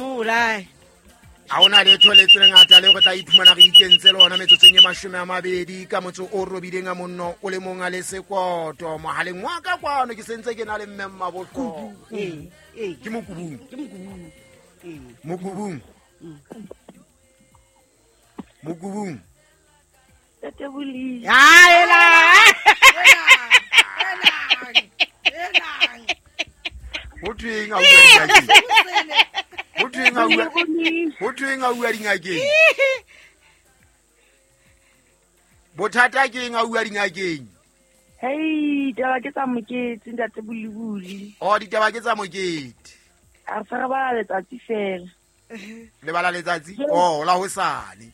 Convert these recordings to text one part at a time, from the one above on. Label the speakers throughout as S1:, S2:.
S1: Mola.
S2: Ha hona letho le tse ngata le re tla iphumana re ikentse lona metsotsong e 20 ka motso o robileng a monno o le mong a le sekoto mohaleng wa ka kwano ke sentse ke na le mme Mmabohloko.
S1: Ee, ee.
S2: Ke mokubung.
S1: Ke mokubung. Ee.
S2: Mokubung. Mokubung.
S3: Ntate Boli.
S1: Aela.
S2: Ho thweng a bua dingakeng? Ho thweng a bua? Ho thweng a bua dingakeng? Bothata ke eng a bua dingakeng?
S3: Hei, ditaba ke tsa mokete ntate Bolibuli.
S2: Oh, ditaba ke tsa mokete.
S3: A re se re bala letsatsi fela.
S2: Le bala letsatsi? Oh, la hosane.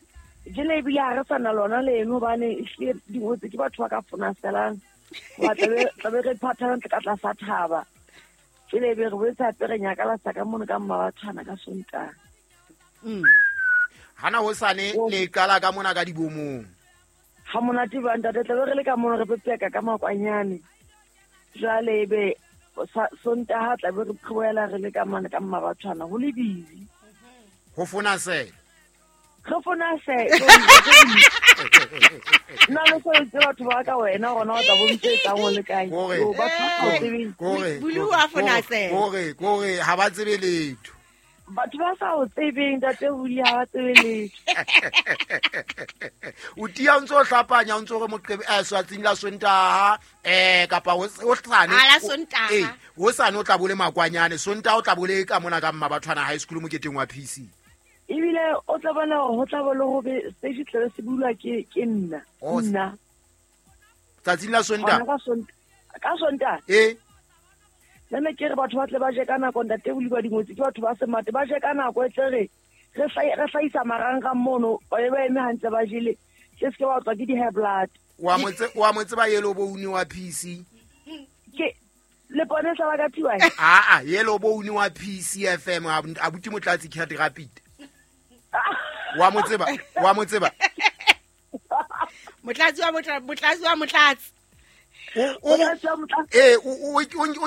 S3: Jele ebile ha re sa na lona leno hobane ehlile dingotse ke batho ba ka fonaselang. Hoba tlabe re phatha ntle ka tlasa thaba. Jele ebe re boetse hape re nyakalasa ka mono ka Mmabathwana ka Sontaha.
S2: Hana hosane le qala ka mona ka dibomong.
S3: Ha monate ba ntate tlabe re le ka mono re pepeka ka makwanyane. Jwale ebe Sontaha tlabe re qhoela re le ka mane ka Mmabathwana ho le busy.
S2: Ho fonasela.
S3: Re fonasela. Nna le sebeditse batho ba ka wena gona o tla bo ntse etsang o le kae.
S2: Kore,
S3: Yo, batho ba sa o tsebeng.
S2: kore,
S1: Bulu wa fonasela.
S2: Kore, kore, ha ba tsebe letho.
S3: Batho ba sa o tsebeng ntate Buli ha ba tsebe letho.
S2: O tia o ntso o hlapanya o ntso re moqebe swatsing la Sontaha kapa hosane.
S1: Ah, la Sontaha.
S2: Hosane o tla bo le makwanyane, Sontaha o tla bo le ka mona ka Mmabathwana High School moketeng wa PC.
S3: Ebile o tla bona hore ho tla bo le ho be stage tlabe se bulwa ke nna.
S2: Oh,
S3: Nna.
S2: Tsatsing la Sontaha?
S3: Hona ka Sontaha.
S2: Eh.
S3: Nna ne ke re batho ba tle ba je ka nako ntate Boli ba dingwetsi ke batho ba semate ba je ka nako e tle re hlahisa marangrang mono ba be ba eme hantle ba jele se se ke wa tswa ke di-high blood.
S2: Wa mo tseba yellow bone wa PC?
S3: Ke le pone sa ba ka thiwa?
S2: Aa, yellow bone wa PC FM abuti Motlatsi Cat Rapid. Wa mo tseba? Wa mo tseba?
S1: Motlatsi wa Motlatsi wa Motlatsi.
S2: O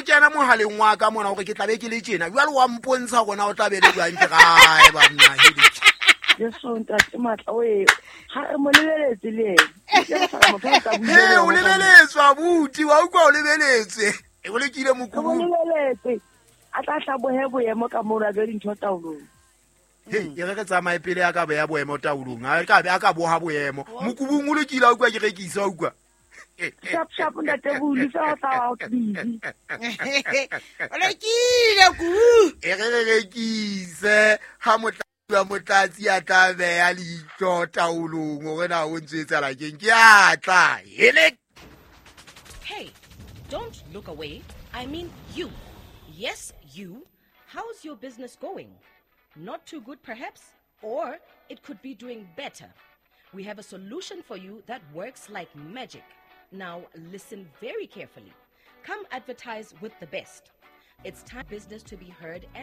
S2: kena mohaleng wa ka mona hore ke tla be ke le tjena. Jwale wa mpontsha hore na o tla be le jwang ke gae banna.
S3: Jesu ntate Matla o e ha re mo lebeletse le yena. Ke re sa motho a tla bua
S2: He,
S3: le
S2: o
S3: yena.
S2: lebeletswe abuti, wa utlwa o lebeletswe. E o lekile
S3: Re mo
S2: mokubung.
S3: lebeletse. A tla hlabohe boemo ka mono a be dintho taolong.
S2: Hei, e re re tsamaye pele a ka beha boemo taolong. A ka be a ka boha boemo. Mokubung o lokile a utlwa ke rekisa, a utlwa.
S3: Sharp, sharp, ntate Buli, se o tla wa busy.
S1: O lokile ku.
S2: E re re rekise ha motlatsi wa Motlatsi a tla beha leihlo taolong hore na o ntso etsahala keng. Ke a tla. Hele.
S4: Hey, don't look away. I mean you. Yes, you. How's your business going? Not too good, perhaps? Or it could be doing better. We have a solution for you that works like magic. Now, listen very carefully. Come advertise with the best. It's time business to be heard and